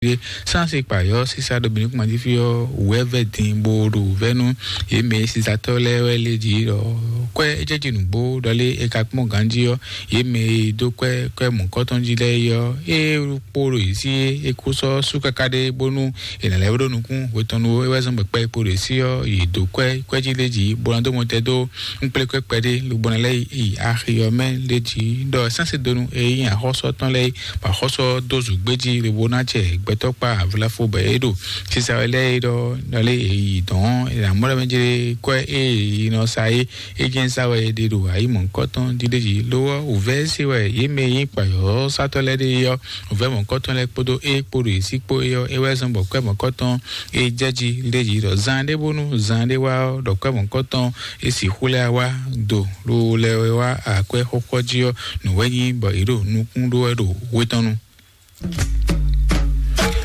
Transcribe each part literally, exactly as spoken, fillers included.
ɖé. Sánsì kpayɔ́ sísá ɖo bǐ nukún jí fí ɔ́, wǔ wɛ vɛ́ din bó ɖo vɛ́ nú yě mɛ e sisatɔ́ lɛ́ɛ wɛ lé jí ɖɔ kwɛ́ é jɛ jí nǔgbó ɖɔ lé é ka kpɔ́n ganjí ɔ́, yě mɛ e dó kwɛ́ kwɛ́ mɔ̌kɔ́tɔn jí lɛ́ɛ é ɔ́, é kpo ɖo yě sí é kú sɔ́ sú káká ɖé bónú è nǎ lɛ́ ɖó nukún hwetɔnnu é wɛ zɔ́n bɔ kpɛ́ kpo ɖo yě sí ɔ́, yě dó kwɛ́ kwɛ́ jí lé jí bó ná dó mɔ tɛ dó ŋkplékwɛ́ kpɛɖé lobo ná lɛ́ yi axi ɔ́ mɛ lé jí ɖɔ sánsì donu e nyí axɔ́sɔ tɔn lɛ́ɛ bɔ axɔ́sɔ dó zǔgbéjí lobo ná jɛ gbɛtɔ́ kpa avlafo bɔ é ɖo sisa wɛ lɛ́ɛ é ɖɔ ɖɔlé e yi dɔn é ná mɔ ɖɔ mɛ jɛ kwɛ e yi nɔ sa é é jẹ́ sa wɛ é ɖe ɖo ayi mɔ̌kɔtɔn dídéjì lówó òvɛ se wɛ yé mɛ yí kpayɔ́ sátɔ lɛ́ɛ ɖe yɔ òvɛ mɔ̌kɔtɔn lɛ́ɛ kpódó é kpó ɖo yě sí kpó é yɔ é wɛ zɔn bɔ kwɛ mɔ̌kɔtɔn é jɛ jí lé jí ɖɔ zan ɖé bónú zan ɖé wá ɔ́ ɖɔ kwɛ mɔ̌kɔtɔn é sixú lɛ́ wá do ɖo lɛ wɛ wá akwɛ́ xɔxɔ jí ɔ́ nǔ wɛ nyí bɔ yě ɖo nukún ɖó wɛ ɖo wé tɔn nu.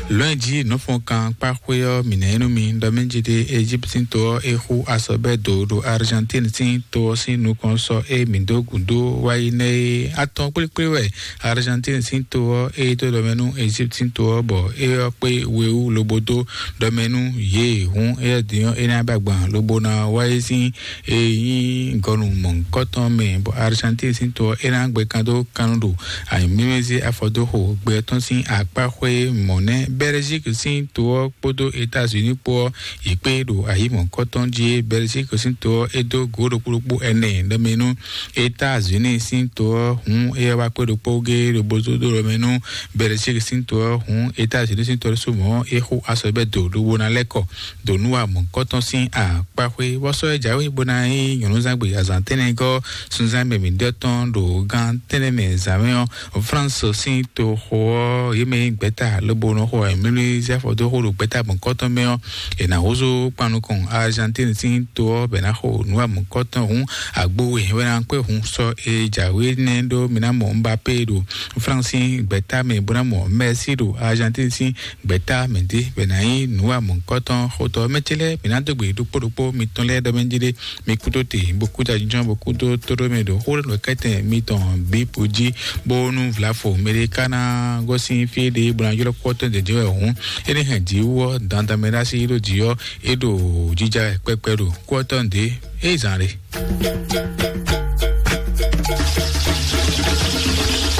Lɔ̌nyijǐ nɔ́fɔnkan kpáxwé ɔ́, mǐ nɛ́ nú mi ɖɔ mɛ jí ɖe Ejíptín to ɔ́ é xú asɔbɛ́ do ɖo Argentine sín to ɔ́ sín nukɔn sɔ́ é mǐ dó gǔdo wá yi nɛ́ é. Atɔn kplékplé wɛ Argentine sín to ɔ́ é dó ɖɔmɛ nú Ejíptín to ɔ́ bɔ é ɔ́ kpé we wú lobo dó ɖɔmɛ nú yě. Hǔn éyɛ́ din ɔ́ é ná ba gban lobo ná wá yi sín e nyí gɔnu mɔ̌hunkɔtɔn mɛ bɔ Argentine sín to ɔ́ é ná gbɛ kan dó kannu ɖo anyǔmímízí afɔdóxo gbɛ tɔn sín akpáxwé mɔ̌ nɛ́. Belgique sín to ɔ́ kpódó États-Unis kpó ɔ́ yě kpé ɖo ayǐ mɔ̌hunkɔtɔn jí é. Belgique sín to ɔ́ é dó gǒ ɖokpó ɖokpó ɛnɛ ɖɔmɛ nú États-Unis sín to ɔ́ hǔn é wá kpé ɖokpó gé ɖo bózódó ɖɔmɛ nú Belgique sín to ɔ́ hǔn États-Unis sín to ɔ́ ɖésú mɔ̌ é xo asɔbɛ́ do ɖo wo ná lɛ́ kɔ ɖo nú wa mɔ̌hunkɔtɔn sín akpáxwé. Vɔ́sɔ́ é jǎwe bó ná nyí nyɔ̌núzangbe azǎn tɛ́nnɛgɔ́ sunzán mɛ mǐɖɔtɔn ɖo gán tɛ́nnɛ mɛ zǎnmɛ ɔ́, France sín toxo ɔ́ yě mɛ nyí gbɛ̌ta lobo nɔ xo ayǐmlúmlú zɛ́ afɔ dó xo ɖo gbɛ̌ta mɔ̌kɔtɔn mɛ ɔ́, è nǎ húzú kpan nukɔn Argentine sín to ɔ́ bɛ ná xo nǔ wa mɔ̌kɔtɔn hǔn agbo we wɛ ná kpé hun sɔ e jǎwe nɛ́ ɖó mi ná mɔ Mbappé ɖo France sín gbɛ̌ta mɛ bó ná mɔ Messi ɖo Argentine sín gbɛ̌ta mɛ dé bɛ ná nyí nǔ wa mɔ̌kɔtɔn xotɔ mɛ ce lɛ́ɛ mǐ ná dó gbe ɖokpó ɖokpó mitɔn lɛ́ɛ ɖɔ mɛ jí ɖé. Mi kúdó te bó kúdó ajínjɔ́n bó kúdó tóɖó mɛ ɖo xó ɖo kɛ́tɛn mitɔn bí po jí bónú vlafo mɛ ɖé ká ná gosín fí ɖé bó ná ylɔ́ kpɔ́tɔ́ dědé wɛ hǔn é ní hɛn jǐ wú ɔ́ dandan mɛ ɖó así ɖó jǐ ɔ́ é ɖo jija wɛ kpɛkpɛ ɖo kú ɔ́ tɔn ɖě é zan ɖe.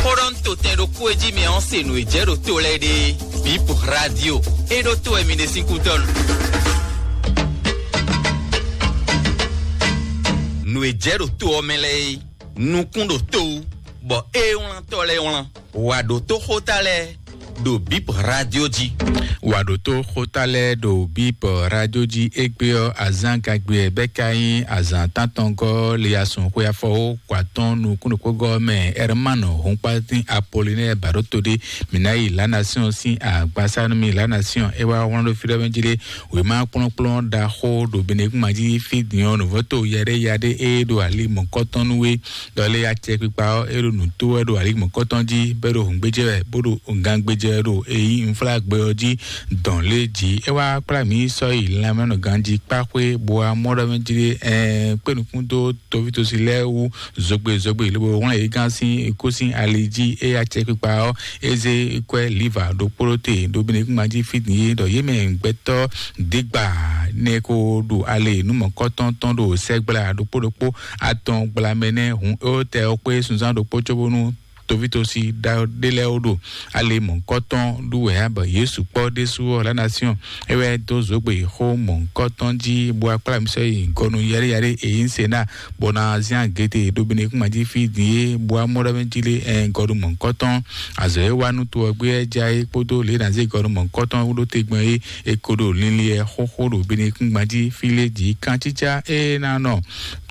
Xó ɖɔ ń to tɛn ɖokpó e jí mɛ ɔ́ se nǔ e jɛ ɖo to lɛ́ɛ ɖe. Bip Radio. E ɖo to wɛ mi ɖe sín kútɔ́ nu. Nǔ e jɛ ɖo to ɔ́ mɛ lɛ́ɛ é. Nukún ɖo to wú, bɔ é wlán tɔ́ lɛ́ɛ wlán. Wǎ ɖo tó xóta lɛ́ɛ ɖo Bip Radio jí. Wǎ ɖo tó xóta lɛ́ɛ ɖo Bip Radio jí égbé ɔ́, azán gagbe ɛ bɛ́ ka nyí azán tántɔngɔ́ le asun xwe afɔwó kɔ atɔ́n nukún ɖokpógɔ́ mɛ Hermano Hunkpatín Apollinaire Baɖóto ɖé. Mǐ ná yi La Nation sín agbasá nú mì. La Nation é wá wlán ɖó fí ɖɔ mɛ jí ɖé wěma kplɔ́nkplɔ́n ɖaxó ɖo Benekúnma jí fí din ɔ́ nǔvɔ́to yaɖéyaɖé é ɖo ali mɔ̌kɔtɔn nú we. Ɖɔ lé acɛkpikpa ɔ́ é ɖo nǔ tó wɛ ɖo ali mɔ̌kɔtɔn jí bɔ é ɖo hǔngbéjɛ wɛ bó ɖo gangbéjɛ wɛ ɖo èyí nflágbɛ ɔ́ jí dɔn lé jí. É wá kplá mǐ sɔ́ yi lanmɛnɔ ganjí kpáxwé bó wá mɔ ɖɔ mɛ jí ɖé ɛɛ kpé nukún dó tovítosi lɛ́ɛ wú zogbe zogbe lobo wlán yě gán sín kó sín ali jí. É acɛkpikpa ɔ́ é zé kwɛ́ liva ɖokpó ɖó te ɖo Benekúnma jí fí din é ɖɔ yě mɛ gbɛtɔ́ dǐgba nɛ ko ɖo ale nú mɔ̌kɔtɔn tɔn ɖo sɛgbla ɖokpó ɖokpó atɔn gblamɛ nɛ́ hǔn é tɛ ɔ́ kpé sunzán ɖokpó cóbónú tovítosi ɖé lɛ́ɛ ó ɖo ale mɔ̌kɔtɔn ɖu wɛ ǎ bɔ Yesu kpɔ́ ɖésú ɔ́ La Nation é wɛ dó zǒgbe xó mɔ̌kɔtɔn jí bó wá kplá mì sɔ́ yi gɔnu yɛɖéyɛɖé èyí ń se ná bó ná zín agete ɖo Benekúnma jí fí din é bó wá mɔ ɖɔ mɛ jí lé ɛ gɔnu mɔ̌kɔtɔn azɔ̌ é wá nú to ɔ́ gbé ɛ já é kpódó lě ná zé gɔnu mɔ̌kɔtɔn wú ɖó te gbɔn é é ko ɖo linlin ɛ xóxó ɖo Benekúnma jí fí lé jí kántítsá é ná nɔ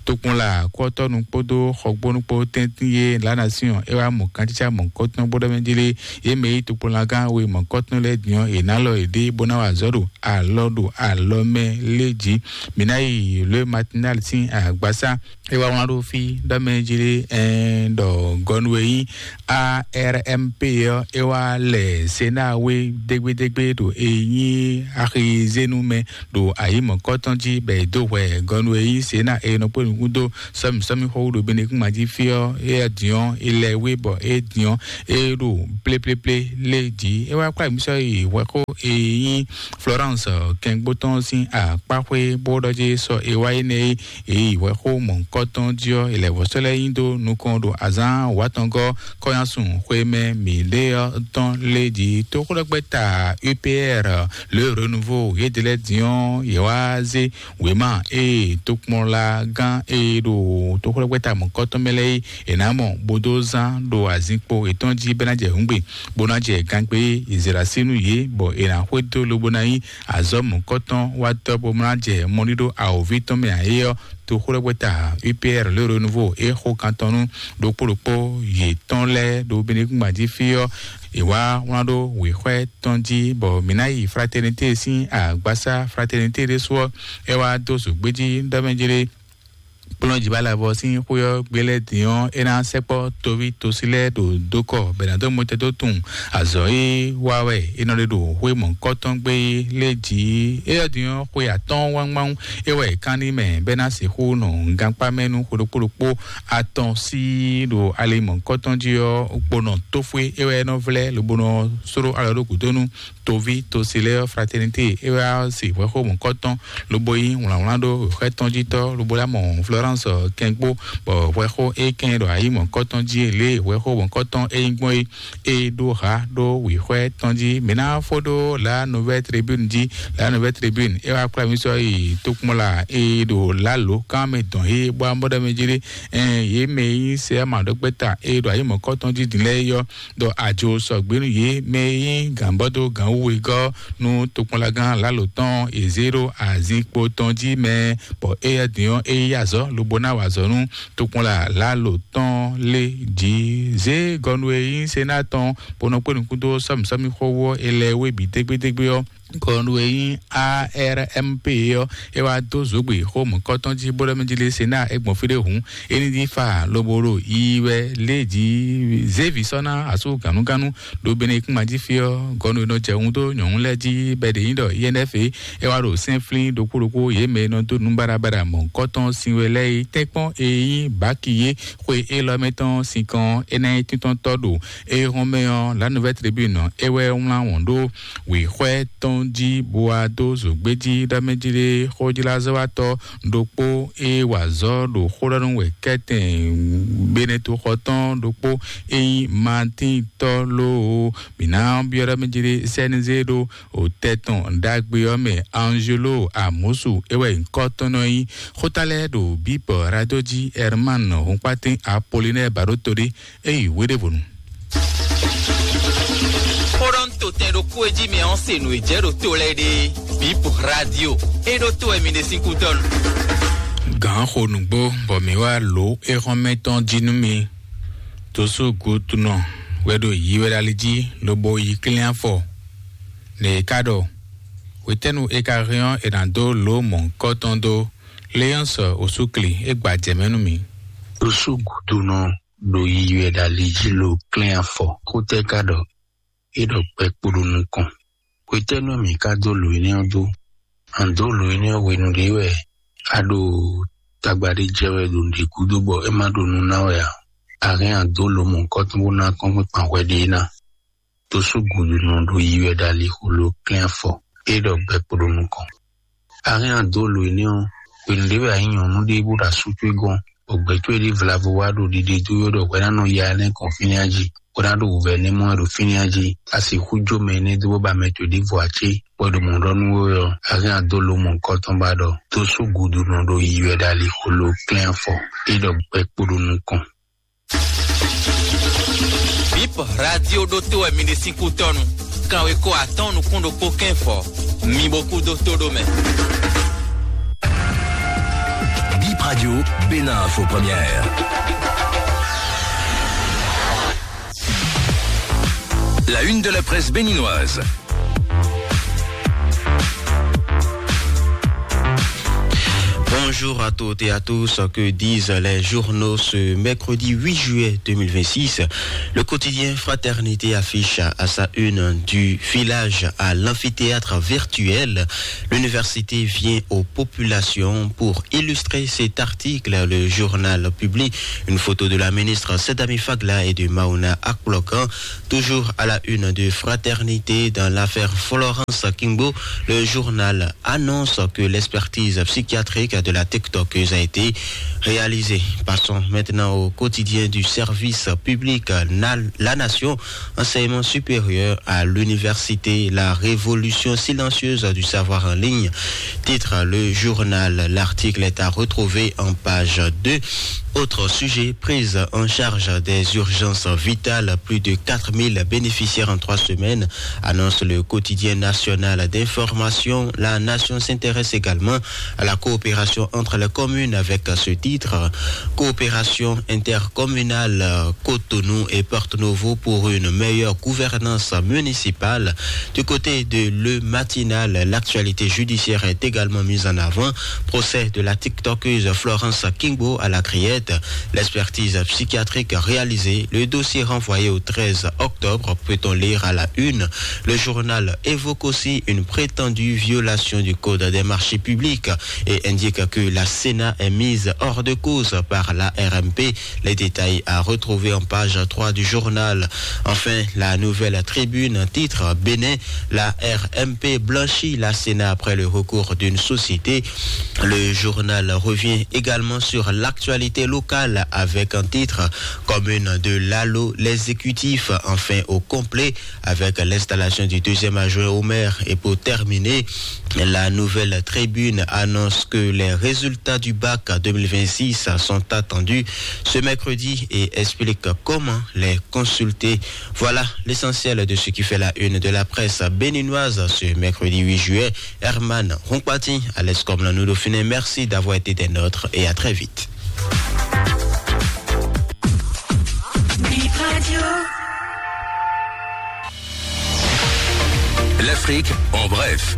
tokpɔnla kɔtɔnu kpódó xɔgbónu kpó tɛntin yé La Nation é wá mɔ kantítsá mɔ̌kɔtɔn bó ɖɔ mɛ jí lé yé mɛ yí tokpɔnlagán we mɔ̌kɔtɔn lɛ́ɛ diɔn è nǎ lɔ yě ɖé bó ná wa azɔ̌ ɖo alɔ ɖo alɔ mɛ lé jí. Mǐ ná yi Le Matinal sín agbásá é wá wlán ɖó fí ɖɔ mɛ jí lé ɛn ɖɔ gɔnu e nyí A R M P ɔ́ é wá lɛ Sénat wé dégbédégbé ɖo e nyí axizénu mɛ ɖo ayǐ mɔ̌kɔtɔn jí bɔ è dó hwɛ gɔnu e nyí Sénat e nɔ kpó gúdo sɔ́mi sɔ́mi xɔ wú ɖo Benekúnma jí fí ɔ́, é diɔ́n é lɛ wé bɔ é diɔ́n é ɖo pléplépléplé lé jí. É wá kplá mǐ sɔ́ yi hwɛxó e nyí Florence kɛngbó tɔn sín akpáxwé bó ɖɔ jí sɔ é wá énɛ́ e yi hwɛxó mɔ̌hunkɔtɔn jí ɔ́, é lɛ vɔ̌ sɔ́ lɛ́ nyi dó nukɔn ɖo azǎn wǎtɔngɔ́ kɔ́nyásun xwemɛ mǐɖée ɔ́ tɔn lé jí. Tóxwlɛ́gbɛ́ta U P R le Renouveau yědɛ́ lɛ́ɛ din ɔ́, yě wá zé wěma ée tokpɔnlagán e ɖo toxwlɛ́gbɛ́ta mɔ̌kɔtɔn mɛ lɛ́ɛ é è nǎ mɔ bó dó zán ɖo azinkpo yětɔn jí bɔ é ná jɛ hǔngbe, bó ná jɛ gangbé e è zě ɖo así nú yě, bɔ è nǎ xwedó lobo ná nyí azɔ̌ mɔ̌kɔtɔn wá tɔ́ bó ná jɛ mɔɖíɖó awǒvi tɔn mɛ ǎ é ɔ́, toxwlɛ́gbɛ́ta U P R le Renouveau é xo kan tɔn nú ɖokpó ɖokpó yětɔn lɛ́ɛ ɖo Benekúnma jí fí ɔ́, è wá wlán ɖó wěxwɛ́ tɔn jí, bɔ mǐ ná yi Fraternité sín agbasá Fraternité ɖésú ɔ́, é wá dó zǒgbéjí ɖɔ mɛ jí ɖé. Kplɔ́njǐbalɛvɔ sín xwé ɔ́ gbe lɛ́ɛ din ɔ́, é ná sɛkpɔ́ toví tosi lɛ́ɛ ɖo dó kɔ bɔ è nǎ dó mɔtɛn dó tunwun azɔ̌ e wa wɛ è nɔ ɖe ɖo xwé mɔ̌hunkɔtɔn gbe é lé jí. Éyɛ́ din ɔ́, xwe atɔ́ɔ́n wángbáwún é wɛ è kán n'i mɛ bɔ é ná sixú nɔ gankpá mɛ nú xwe ɖokpó ɖokpó atɔn sí ɖo ali mɔ̌hunkɔtɔn jí ɔ́, kponɔ tófwé é wɛ é nɔ vlɛ́ lobo nɔ sló alɔ ɖó gǔdo nú toví tosi lɛ́ɛ ɔ́. Fraternité é wá se hwɛxó mɔ̌kɔtɔn lobo yí wlǎnwlán ɖó xwɛ tɔn jí tɔ́, lobo lá mɔ Florence kɛngbó, bɔ hwɛxó é kɛn ɖo ayǐ mɔ̌kɔtɔn jí lě hwɛxó mɔ̌kɔtɔn é nyí gbɔn é é ɖó ha ɖó wǐxwɛ tɔn jí. Mǐ ná fó ɖó La Nouvelle Tribune jí. La Nouvelle Tribune é wá kplá mì sɔ́ yi tokpɔnla é ɖo lalo kán mɛ dɔn é bó amɔ́ ɖɔ mɛ jí ɖé. Ɛn yě mɛ e nyí sɛ ama ɖɔkpɛ́ta é ɖo ayǐ mɔ̌kɔtɔn jí din lɛ́ɛ é ɔ́, ɖɔ ajo sɔgbě nú yě mɛ e nyí gǎnbɔ́dó gǎnwúwegɔ́ nú tokpɔnlagán lalo tɔn è zě ɖo azinkpo tɔn jí mɛ, bɔ éyɛ́ din ɔ́ é yí azɔ̌ lobo ná wa azɔ̌ nú tokpɔnla lalo tɔn lé jí. Zě gɔnu e nyí Sená tɔn bó nɔ kpé nukún dó sɔ́mǐsɔ́mí xó wú ɔ́, è lɛ wé bǐ dégbédégbé ɔ́, gɔnu e nyí A R M P ɔ́, é wá dó zǒgbè xó mɔ̌kɔtɔn jí bó ɖɔ mɛ jí lé Sená é gbɔn fí ɖé hǔn, é ní dín fa lobo ɖo yiyi wɛ lé jí. Zévi sɔ́ ná asú gǎnúgánú ɖo Benekúnma jí fí ɔ́, gɔnu e nɔ jɛ wun dó nyɔ̌nu lɛ́ɛ jí bɔ è ɖě nyí ɖɔ I N F é, é wá ɖo sɛ́nflín ɖokpó ɖokpó yě mɛ e nɔ dó nǔ baɖabaɖa mɔ̌hunkɔtɔn sin we lɛ́ɛ é tɛ́nkpɔ́n e nyí Baki é xwe élɔ́ mɛ tɔn sinkɔn é ná nyí tíntɔ́ntɔ́ ɖo é hɔn mɛ ɔ́, La Nouvelle Tribune ɔ́, é wɛ wlán wɔn ɖó wěxwɛ́ tɔn jí bó wá dó zǒgbéjí ɖɔ mɛ jí ɖé xójlázɔ́watɔ́ ɖokpó e wa azɔ̌ ɖo xó ɖɔ nú wɛ kɛ́tɛn Beneto xɔ tɔn ɖokpó e nyí Martin tɔ́ lóo. Mǐ ná byɔ́ ɖɔ mɛ jí ɖé C N Z ɖó o tɛ́ tɔn ɖagbe ɔ́ mɛ Angelo Amosu é wɛ nyǐkɔ tɔn nɔ nyí. Xóta lɛ́ɛ ɖo Bíbɔ Radio jí Herman Hunkpatin Apollinaire Baɖótodé é yi wéɖévonu. Xóɖɔ́ntotɛn ɖokpó e jí mɛ ɔ́ se nǔ e jɛ ɖo to lɛ́ɛ ɖe. Bíbɔ Radio é ɖó to wɛ mi ɖe sín kútɔ́nu. Gǎn xo nǔgbó bɔ mǐ wá lǒ é xɔ́n mɛ tɔn jí nú mi. Tosú gutunɔ wɛ ɖo yi wɛ ɖo ali jí lobo yi klín afɔ. Nɛ è ká ɖɔ hwetɛ́nu è ka hɛn ɔ́, è nǎ dó lǒ mɔ̌hunkɔtɔn dó. Léɔ́nsɔ osúkli é gba jɛ mɛ nú mi. Tosú gutunɔ ɖo yiyi wɛ ɖo ali jí lo klɛ́n afɔ. Xótɛ́ ka ɖɔ é ɖɔ gbɛ kpo ɖo nukɔn. Hwetɛ́nu mǐ ka dó lǒ énɛ́ ɔ́ dó? A dǒ lǒ énɛ́ ɔ́ hwenu ɖé wɛ a ɖo tagba ɖé jɛ wɛ ɖo nǔɖé gúdo bɔ é ma ɖo nu ná wɛ ǎ. A hɛn a dǒ lǒ mɔ̌hunkɔtɔn bó ná kɔ́nkpɛn kpan hwɛ ɖé ná. Tosú gǔdo nɔ ɖo yi wɛ ɖo alixo lo klɛ́n afɔ, é ɖɔ gbɛ kpo ɖo nukɔn. A hɛn a dǒ lǒ énɛ́ ɔ́, hwenu ɖé wɛ a nyí nyɔ̌nu ɖé bó ɖo asú towe gɔ́n, bɔ gbɛ̌ towe ɖé vlavo wá ɖo ɖiɖe dó wɛ ɖɔ hwɛ ná nɔ ya énɛ́ kɔn fínɛ́ jí, bó ná ɖo wǔvɛ́ énɛ́ mɔ wɛ ɖo fínɛ́ jí. A sixú jó mɛ énɛ́ dó bó ba mɛ towe ɖěvo ǎ cé? Bɔ è ɖo mɔ̌ ɖɔ nú we ɔ́, a hɛn a dǒ lǒ mɔ̌hunkɔtɔn bó a ɖɔ dó sú gǔdo nɔ ɖo yi wɛ ɖo alixo lo klɛ́n afɔ, é ɖɔ gbɛ kpo ɖo nukɔn. Bip Radio ɖótó wɛ mi ɖe sín kútɔ́nu. Kanwekó atɔ́ɔ́n nukún ɖokpó kɛ́nfɔ. Mi bo kú dó tó ɖó mɛ. Bip Radio, Bénin Info Première. La une de la presse béninoise. Bonjour. Bonjour à toutes et à tous. Que disent les journaux ce mercredi huit juillet deux mille vingt-six ? Le quotidien Fraternité affiche à sa une du village à l'amphithéâtre virtuel. L'université vient aux populations. Pour illustrer cet article, le journal publie une photo de la ministre Sedami Fagla et de Mauna Akplokan. Toujours à la une de Fraternité dans l'affaire Florence Kingbo, le journal annonce que l'expertise psychiatrique de la TikTokeuse a été réalisée. Passons maintenant au quotidien du service public, na-, La Nation, enseignement supérieur à l'université, la révolution silencieuse du savoir en ligne, titre le journal. L'article est à retrouver en page deux. Autre sujet, prise en charge des urgences vitales, plus de quatre mille bénéficiaires en trois semaines, annonce le quotidien national d'information. La Nation s'intéresse également à la coopération entre les communes avec ce titre, coopération intercommunale, Cotonou et Porto Novo pour une meilleure gouvernance municipale. Du côté de Le Matinal, l'actualité judiciaire est également mise en avant. Procès de la TikTokeuse Florence Kingbo à la Criette. L'expertise psychiatrique réalisée, le dossier renvoyé au treize octobre, peut-on lire à la une. Le journal évoque aussi une prétendue violation du code des marchés publics et indique que la Sénat est mise hors de cause par la R M P. Les détails à retrouver en page trois du journal. Enfin, la Nouvelle Tribune, titre Bénin, la R M P blanchit la Sénat après le recours d'une société. Le journal revient également sur l'actualité locale avec un titre, commune de Lalo, l'exécutif enfin au complet avec l'installation du deuxième adjoint au maire. Et pour terminer, la Nouvelle Tribune annonce que les résultats du bac deux mille vingt-six sont attendus ce mercredi et explique comment les consulter. Voilà l'essentiel de ce qui fait la une de la presse béninoise ce mercredi huit juillet. Herman Hunkpati, alias Komla Noudoufiné, merci d'avoir été des nôtres et à très vite. Bip Radio. L'Afrique en bref.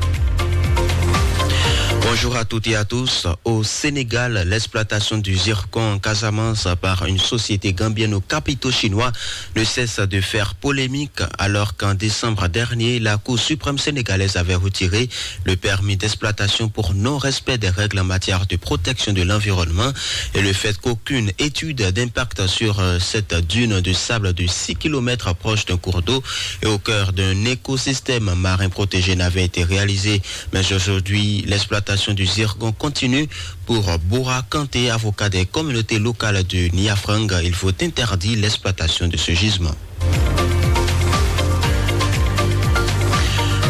Bonjour à toutes et à tous. Au Sénégal, l'exploitation du zircon en Casamance par une société gambienne aux capitaux chinois ne cesse de faire polémique, alors qu'en décembre dernier, la Cour suprême sénégalaise avait retiré le permis d'exploitation pour non-respect des règles en matière de protection de l'environnement et le fait qu'aucune étude d'impact sur, euh, cette dune de sable de six kilomètres proche d'un cours d'eau et au cœur d'un écosystème marin protégé n'avait été réalisée. Mais aujourd'hui, l'exploitation du zircon continue pour Bora Kanté, avocat des communautés locales de Niafrang. Il faut interdire l'exploitation de ce gisement.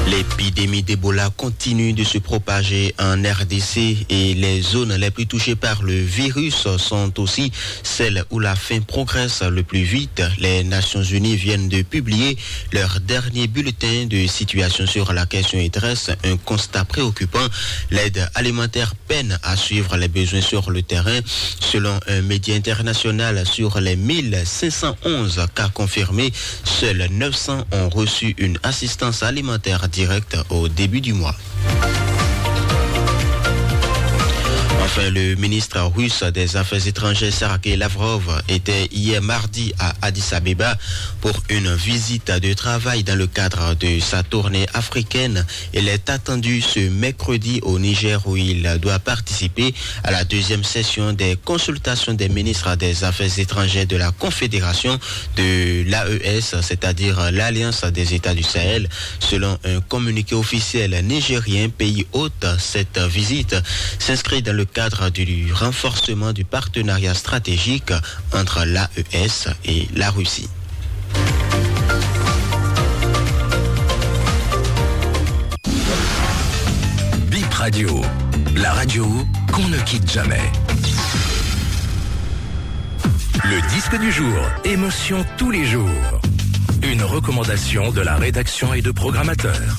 L'épidémie d'Ebola continue de se propager en R D C et les zones les plus touchées par le virus sont aussi celles où la faim progresse le plus vite. Les Nations Unies viennent de publier leur dernier bulletin de situation sur la question et dressent un constat préoccupant. L'aide alimentaire peine à suivre les besoins sur le terrain. Selon un média international, sur les mille cinq cent onze cas confirmés, seuls neuf cents ont reçu une assistance alimentaire directe au début du mois. Enfin, le ministre russe des Affaires étrangères, Sergei Lavrov, était hier mardi à Addis Abeba pour une visite de travail dans le cadre de sa tournée africaine. Il est attendu ce mercredi au Niger, où il doit participer à la deuxième session des consultations des ministres des Affaires étrangères de la Confédération de l'A E S, c'est-à-dire l'Alliance des États du Sahel. Selon un communiqué officiel nigérien, pays hôte, cette visite s'inscrit dans le cadre du renforcement du partenariat stratégique entre l'A E S et la Russie. Bip Radio, la radio qu'on ne quitte jamais. Le disque du jour, émotion tous les jours. Une recommandation de la rédaction et de programmateurs.